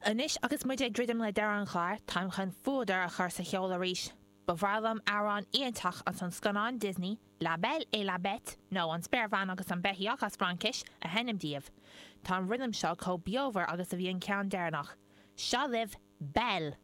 Anois agus muid ag druidim le deireadh an chláir, táim chun fuadar a chur sa cheol arís. Ba bhreá liom amhrán iontach as an scannán Disney, La Belle et la Bête, nó An Spéirbhean agus an Beithíoch as Fraincis, a sheinm daoibh. Tá an rithim seo chomh beomhar agus a bhí an ceann deireanach. Seo libh Belle!